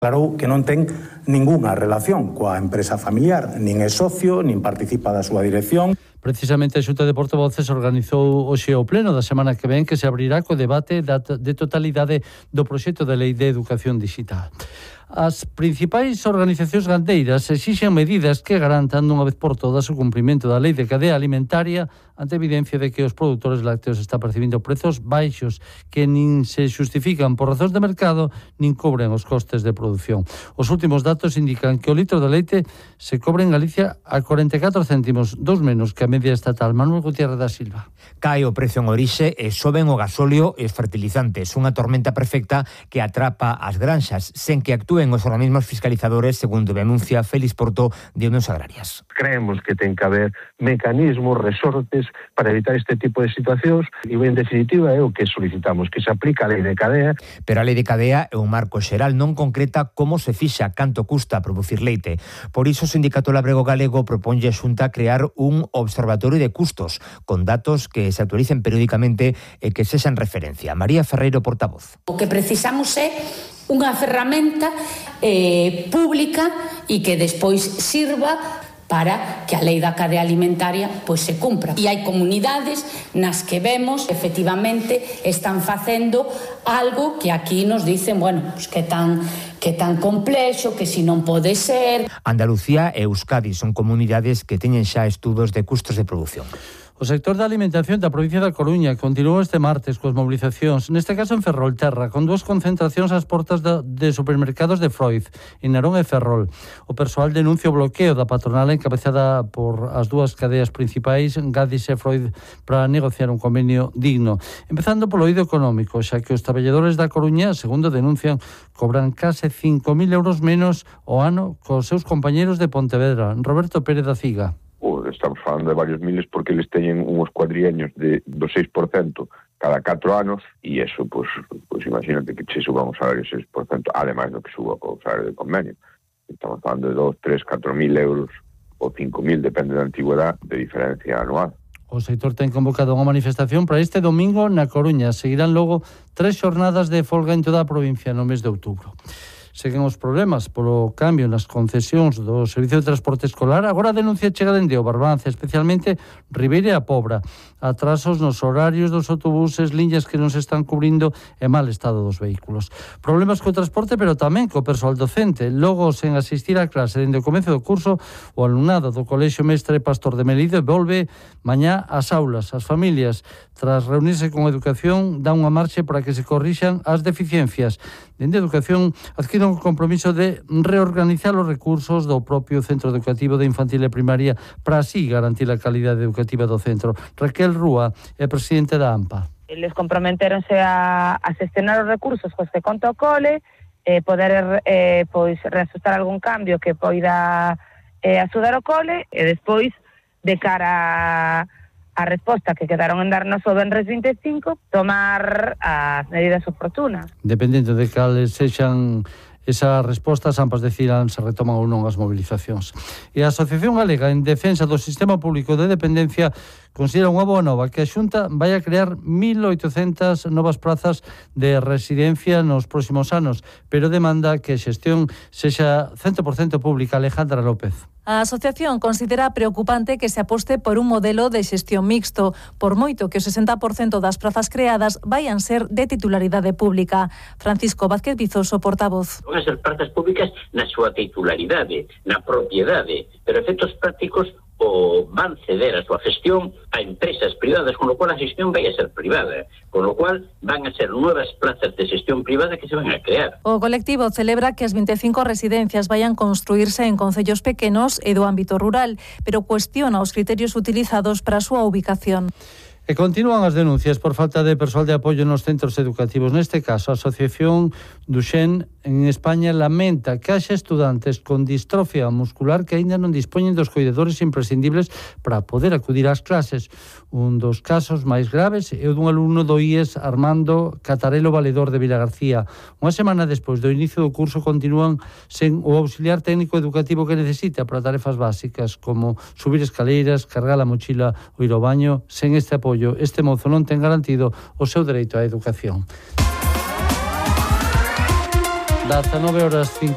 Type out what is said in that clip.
Claro que non ten ningunha relación coa empresa familiar, nin é socio, nin participa da súa dirección. Precisamente a Xunta de Portavoces organizou hoxe o pleno da semana que ven, que se abrirá co debate de totalidade do proxecto de lei de educación digital. As principais organizacións gandeiras exixen medidas que garantan dunha vez por todas o cumprimento da lei de cadea alimentaria ante a evidencia de que os produtores lácteos están percibindo prezos baixos que nin se xustifican por razóns de mercado nin cobren os costes de produción. Os últimos datos indican que o litro de leite se cobra en Galicia a 44 céntimos, 2 menos que a media estatal. Manuel Gutiérrez da Silva. Cae o prezo en orixe e soben o gasóleo e os fertilizantes, unha tormenta perfecta que atrapa as granxas sen que actúen os organismos fiscalizadores, segundo denuncia Félix Porto de Unións Agrarias. Creemos que ten que haber mecanismos, resortes para evitar este tipo de situacións e, en definitiva, é o que solicitamos, que se aplique a lei de cadea. Pero a lei de cadea é un marco xeral, non concreta como se fixa, canto custa producir leite. Por iso o Sindicato Labrego Galego proponlle a Xunta crear un observatorio de custos con datos que se actualicen periódicamente e que sexan referencia. María Ferreiro, portavoz. O que precisamos é unha ferramenta pública e que despois sirva para que a lei da cadea alimentaria pois se cumpra. E hai comunidades nas que vemos, efectivamente, están facendo algo que aquí nos dicen, bueno, pues que tan complexo, que si non pode ser. Andalucía e Euskadi son comunidades que teñen xa estudos de custos de produción. O sector da alimentación da provincia da Coruña continuou este martes coas mobilizacións, neste caso en Ferrolterra, con 2 concentracións ás portas de supermercados de Freud, en Narón e Ferrol. O persoal denuncia o bloqueo da patronal encabezada por as 2 cadeas principais, Gadis e Freud, para negociar un convenio digno. Empezando polo eido económico, xa que os traballadores da Coruña, segundo denuncian, cobran case 5.000 euros menos ao ano cos seus compañeros de Pontevedra. Roberto Pérez da Ciga. Estamos falando de varios miles porque eles teñen uns cuadriaños do 6% cada 4 anos e eso, pues imagínate que se suba un salario 6%, ademais do que suba o salario de convenio. Estamos falando de 2, 3, 4.000 euros ou 5.000, depende da antigüedade, de diferencia anual. O sector ten convocado unha manifestación para este domingo na Coruña. Seguirán logo 3 xornadas de folga en toda a provincia no mes de outubro. Seguen os problemas polo cambio nas concesións do Servicio de Transporte Escolar. Agora a denuncia chega dende o Barbanza, especialmente Ribeira e a Pobra. Atrasos nos horarios dos autobuses, liñas que non se están cubrindo e mal estado dos vehículos. Problemas co transporte, pero tamén co persoal docente. Logo, sen asistir á clase dende o comezo do curso, o alumnado do Colexio Mestre Pastor de Melide volve mañá ás aulas. As familias, tras reunirse con Educación, dan unha marcha para que se corrixan as deficiencias. Dende Educación adquire un compromiso de reorganizar os recursos do propio centro educativo de infantil e primaria para así garantir a calidade educativa do centro. Raquel Rúa é presidente da AMPA. Eles comprometeronse a xestionar os recursos cos que conta o cole, poder reajustar algún cambio que poida axudar o cole e despois, de cara a resposta que quedaron en darnos o venres 25, tomar as medidas oportunas. Dependendo de cales sexan esas respostas, ambas decidirán se retoman ou non as movilizacións. E a Asociación Galega en Defensa do Sistema Público de Dependencia considera unha boa nova que a Xunta vai a crear 1.800 novas prazas de residencia nos próximos anos, pero demanda que a xestión sexa 100% pública. Alejandra López. A asociación considera preocupante que se aposte por un modelo de xestión mixto, por moito que o 60% das prazas creadas vayan ser de titularidade pública. Francisco Vázquez Vizoso, portavoz. Van a ser prazas públicas na súa titularidade, na propiedade, pero efectos prácticos o van ceder a súa gestión a empresas privadas, con lo cual a xestión vai a ser privada, con lo cual van a ser novas plazas de xestión privada que se van a crear. O colectivo celebra que as 25 residencias vayan construirse en concellos pequenos e do ámbito rural, pero cuestiona os criterios utilizados para a súa ubicación. E continúan as denuncias por falta de persoal de apoio nos centros educativos. Neste caso, a Asociación Duchenne en España lamenta que haxa estudantes con distrofia muscular que aínda non dispoñen dos coidadores imprescindibles para poder acudir ás clases. Un dos casos máis graves é o dun alumno do IES, Armando Catarelo Valedor de Vilagarcía. Unha semana despois do inicio do curso continúan sen o auxiliar técnico educativo que necesita para tarefas básicas como subir escaleiras, cargar a mochila ou ir ao baño. Sen este apoio, este mozo non ten garantido o seu dereito á educación. 19 horas 50.